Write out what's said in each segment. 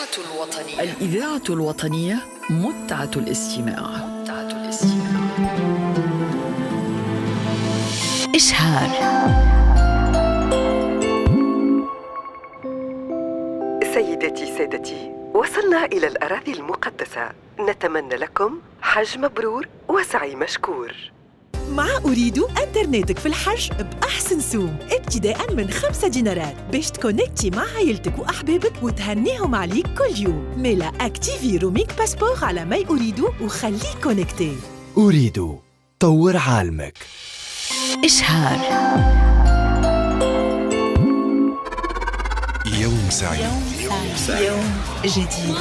الوطنية، الإذاعة الوطنية، متعة الاستماع، متعة الاستماع. إشهار. سيداتي سادتي، وصلنا إلى الأراضي المقدسة. نتمنى لكم حج مبرور وسعي مشكور. مع أوريدو انترنتك في الحج بأحسن سوم، ابتداء من 5 دينارات باش تكونكتي مع عائلتك وأحبابك وتهنيهم عليك كل يوم. ميلا activer roaming passeport على my أوريدو وخليك connecté. أوريدو، طور عالمك. إشهار. يوم سعيد، يوم سعيد، يوم جديد.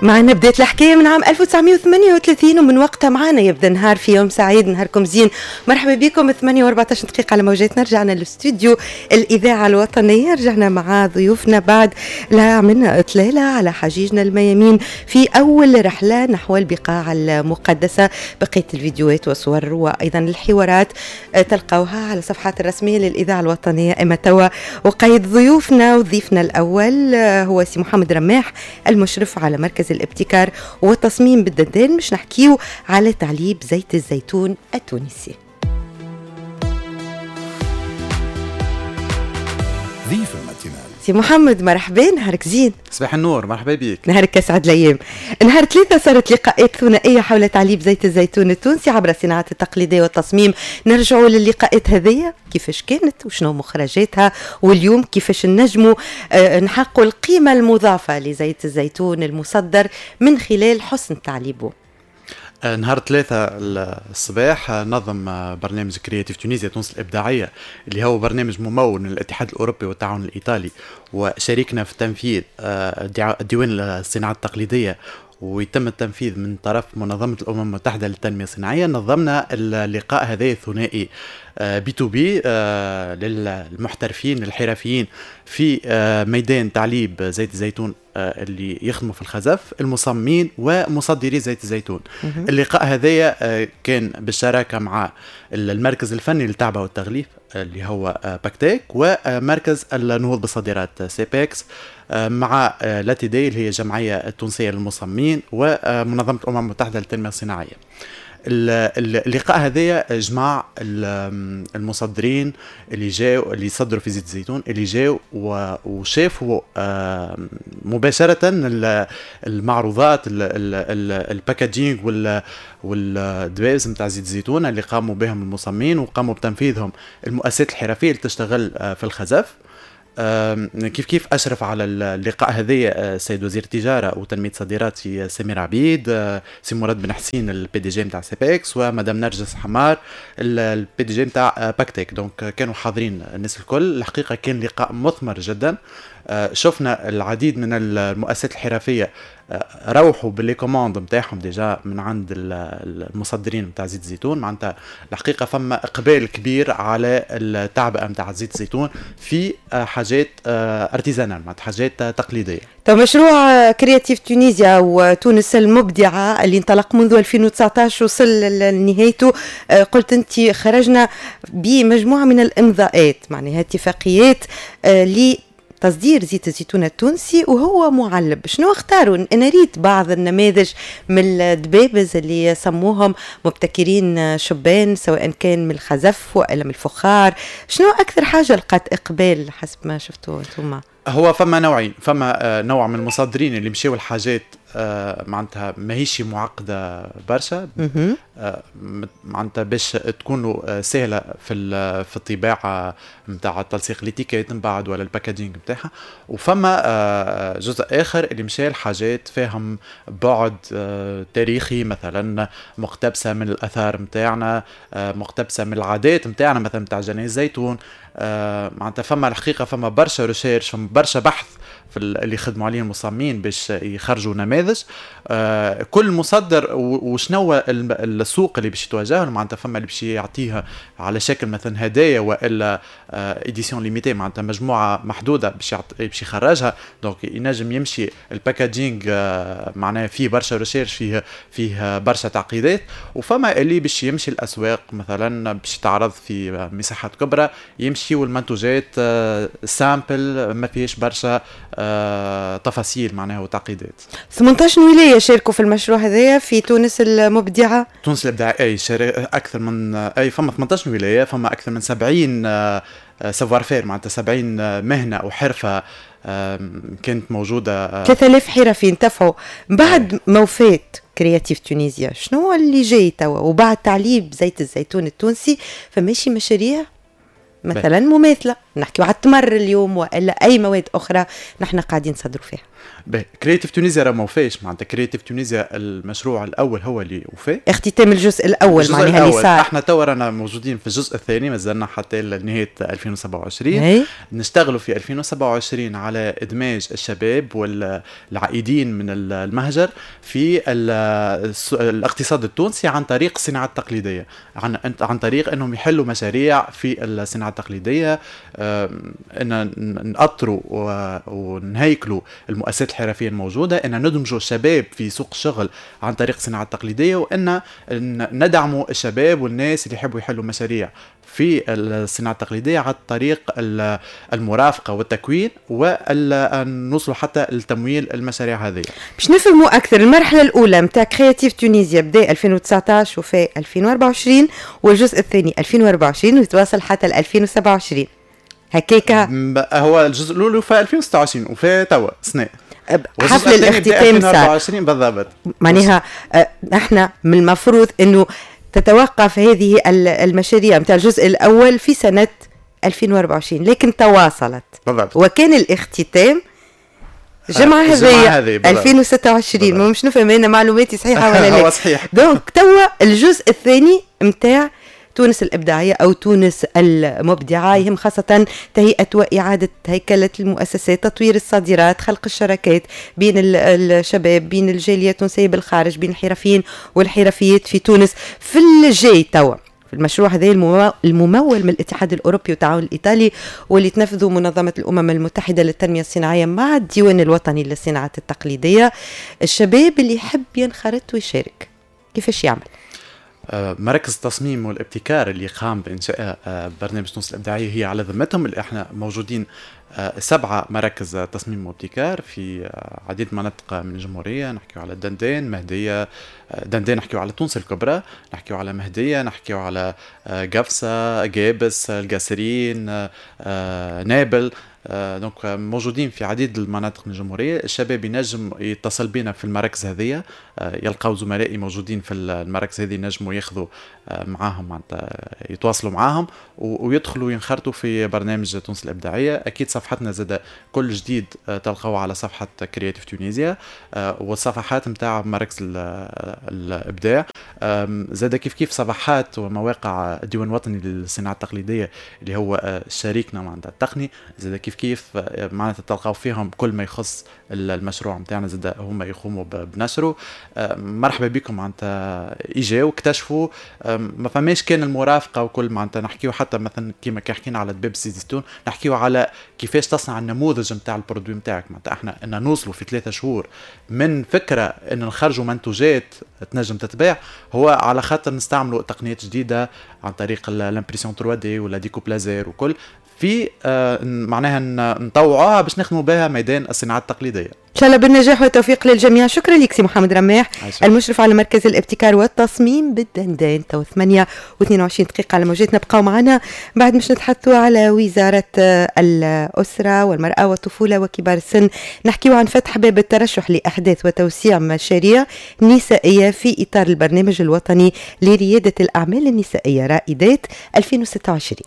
معنا بداية الحكاية من عام 1938، ومن وقتها معنا يبدا نهار في يوم سعيد. نهاركم زين، مرحبا بكم. 8:14 دقيقة على موجاتنا. رجعنا للاستوديو الإذاعة الوطنية، رجعنا مع ضيوفنا بعد لا عملنا إطلالة على حجيجنا الميامين في أول رحلة نحو البقاع المقدسة. بقية الفيديوهات والصور وأيضا الحوارات تلقوها على الصفحات الرسمية للإذاعة الوطنية. أما توا وقيد ضيوفنا، وضيفنا الأول هو سي محمد رماح المشرف على مركز الابتكار والتصميم بالدندان، مش نحكيو على تعليب زيت الزيتون التونسي. ضيف ال matinale. سي محمد مرحبا، نهارك زين. صباح النور، مرحبا بك. نهارك اسعد الايام. نهار 3 صارت لقاءات ثنائية حول تعليب زيت الزيتون التونسي عبر الصناعات التقليدية والتصميم. نرجعوا للقاءات هذيا كيفاش كانت وشنو مخرجاتها، واليوم كيفاش نجموا نحققوا القيمة المضافة لزيت الزيتون المصدر من خلال حسن تعليبه. نهار 3 الصباح نظم برنامج Creative Tunisia تونس الإبداعية، اللي هو برنامج ممول من الاتحاد الأوروبي والتعاون الإيطالي، وشاركنا في التنفيذ ديوان الصناعة التقليدية، ويتم التنفيذ من طرف منظمة الأمم المتحدة للتنمية الصناعية. نظمنا اللقاء هذا الثنائي B to B للمحترفين الحرفيين في ميدان تعليب زيت الزيتون اللي يخدموا في الخزف، المصممين ومصدري زيت الزيتون. اللقاء هذايا كان بالشراكة مع المركز الفني للتعبئة والتغليف اللي هو باكتيك، ومركز النهوض بالصادرات سيبكس، مع l'ATD اللي هي الجمعية التونسية للمصممين، ومنظمة الأمم المتحدة للتنمية الصناعية. اللقاء هذايا جمع المصدرين اللي جاوا، اللي صدروا في زيت الزيتون، اللي جاوا وشافوا مباشرة المعروضات، ال packaging والدبابز نتاع زيت الزيتون اللي قاموا بهم المصممين وقاموا بتنفيذهم المؤسسات الحرفية اللي تشتغل في الخزف. كيف كيف أشرف على اللقاء هذا السيد وزير التجارة وتنمية الصادرات سي سمير عبيد، سي مراد بن حسين ال PDG نتاع سيبكس، ومدام نرجس حمار ال PDG نتاع باكتيك. donc كانوا حاضرين الناس الكل. الحقيقة كان لقاء مثمر جدا. شفنا العديد من المؤسسات الحرفية روحوا ب les commandes نتاعهم déjà من عند المصدرين نتاع زيت الزيتون. معناتها الحقيقة فما اقبال كبير على التعبئه نتاع زيت الزيتون في حاجات artisanales، معناتها حاجات تقليدية. تو مشروع Creative Tunisia وتونس المبدعه اللي انطلق منذ 2019 وصل لنهايته، قلت انت خرجنا بمجموعه من الامضاءات، معناها اتفاقيات تصدير زيت الزيتون التونسي وهو معلب. شنو اختاروا؟ انا ريت بعض النماذج من الدبابز اللي سموهم مبتكرين شبان، سواء كان من الخزف والا من الفخار. شنو اكثر حاجة لقات اقبال حسب ما شفتوا انتم؟ هو فما نوعين، فما نوع من المصدرين اللي مشاو الحاجات معناتها ماهيش معقدة برشا، معناتها باش تكون سهلة في الطباعة نتاع التلصيق l'étiquette من بعد ولا ال packaging نتاعها. وفما جزء اخر اللي مشى الحاجات فيهم بعد تاريخي، مثلا مقتبسة من الاثار نتاعنا، مقتبسة من العادات نتاعنا، مثلا نتاع جني الزيتون. معناتها فما الحقيقة فما برشا recherche، فما برشا بحث في اللي خدموا عليه المصممين باش يخرجوا نماذج. كل مصدر وشنو السوق اللي باش يتواجه، معناتها فما اللي باش يعطيها على شكل مثلا هدايا والا édition limitée، معناتها مجموعة محدودة باش يخرجها. donc ينجم يمشي ال packaging معناها فيه برشا recherche، فيه برشا تعقيدات. وفما اللي باش يمشي الاسواق مثلا باش تعرض في مساحات كبرى، يمشي والمنتوجات simple ما فيهش برشا تفاصيل معناها وتعقيدات. 18 ولاية شاركوا في المشروع هذايا في تونس المبدعه. تونس الابداع اي اكثر من اي فما 18 ولاية، فما اكثر من 70 savoir-faire، معناتها 70 مهنة او حرفه كانت موجودة. 3000 حرفي انتفعوا بعد ما وفات Creative Tunisia. شنو اللي جاي توا وبعد تعليب زيت الزيتون التونسي؟ فماشي مشاريع مثلا مماثلة، نحكيو على التمر اليوم والا اي مواد اخرى نحن قاعدين نصدروا فيها. Creative Tunisia راه ما وفاش، معناتها Creative Tunisia المشروع الاول هو اللي وفى، اختتام الجزء الاول معناها اللي صار. احنا توا رانا موجودين في الجزء الثاني، مازلنا حتى لنهاية 2027. نشتغلوا في 2027 على ادماج الشباب والعائدين من المهجر في الاقتصاد التونسي عن طريق الصناعة التقليدية، عن طريق انهم يحلوا مشاريع في الصناعة التقليدية، ان نأطروا ونهيكلوا المؤسسات الحرفية الموجودة، ان ندمجوا الشباب في سوق الشغل عن طريق الصناعة التقليدية، وان ندعموا الشباب والناس اللي يحبوا يحلوا مشاريع في الصناعة التقليدية عن طريق المرافقة والتكوين، ونوصلوا حتى لتمويل المشاريع هذه. باش نفهموا اكثر، المرحلة الاولى نتاع Creative Tunisia بدا 2019 وفي 2024، والجزء الثاني 2024 ويتواصل حتى 2027. هكاكا هو الجزء الاول وفى 2026 وفى توا سنة حفل الاختتام صار 2024 بالضبط. معناها نحن من المفروض انه تتوقف هذه المشاريع نتاع الجزء الاول في سنة 2024، لكن تواصلت بالضبط، وكان الاختتام الجمعة هذه 2026. مش نفهم انا معلوماتي صحيحه ولا لا؟ هو صحيح. donc توا الجزء الثاني نتاع تونس الإبداعية أو تونس المبدعة يهم خاصة تهيئة وإعادة هيكلة المؤسسات، تطوير الصادرات، خلق الشراكات بين الشباب، بين الجالية التونسية بالخارج، بين الحرفيين والحرفيات في تونس. في الجاي توا في المشروع هذا الممول من الاتحاد الأوروبي والتعاون الإيطالي، واللي تنفذه منظمة الأمم المتحدة للتنمية الصناعية مع الديوان الوطني للصناعات التقليدية، الشباب اللي يحب ينخرط ويشارك كيفاش يعمل؟ مراكز التصميم والابتكار اللي قام بإنشاء برنامج تونس الإبداعية هي على ذمتهم، اللي احنا موجودين 7 مراكز تصميم وابتكار في عديد مناطق من الجمهورية. نحكيو على دندان، مهدية، دندان نحكيو على تونس الكبرى، نحكيو على مهدية، نحكيو على قفصة، قابس، القاسرين، نابل. donc موجودين في عديد المناطق من الجمهورية. الشباب ينجم يتصل بنا في المراكز هذه، يلقاو زملائي موجودين في المراكز هذه، ينجموا ياخذوا معاهم، معناتها يتواصلوا معاهم ويدخلوا ينخرطوا في برنامج تونس الإبداعية. أكيد صفحتنا زاد كل جديد تلقوه على صفحة Creative Tunisia والصفحات نتاع مراكز الإبداع. زاد كيف كيف صفحات ومواقع الديوان الوطني للصناعة التقليدية اللي هو شريكنا معناتها التقني، زاد كيف كيف معناتها تلقاو فيهم كل ما يخص المشروع نتاعنا، زاد هما يقوموا بنشره. مرحبا بكم، معناتها اجاو اكتشفوا، ما فماش كان المرافقة وكل، معناتها نحكيو حتى مثلا كيما كي حكينا على دباب زيت الزيتون، نحكيو على كيفاش تصنع النموذج نتاع ال produit نتاعك. معناتها احنا ان نوصلوا في 3 شهور من فكرة ان نخرجوا منتوجات تنجم تتباع، هو على خاطر نستعملوا تقنيات جديدة عن طريق l'impression 3D ولا découpe laser وكل، في معناها نطوعوها باش نخدموا بها ميدان الصناعة التقليدية. ان شاء الله بالنجاح والتوفيق للجميع. شكرا لك سي محمد رماح، المشرف على مركز الابتكار والتصميم بالدندان. تو 8:22 دقيقة على موجاتنا، بقاو معنا بعد مش نتحدثوا على وزارة الأسرة والمرأة والطفولة وكبار السن، نحكيو عن فتح باب الترشح لأحداث وتوسيع مشاريع نسائية في إطار البرنامج الوطني لريادة الأعمال النسائية رائدات 2026.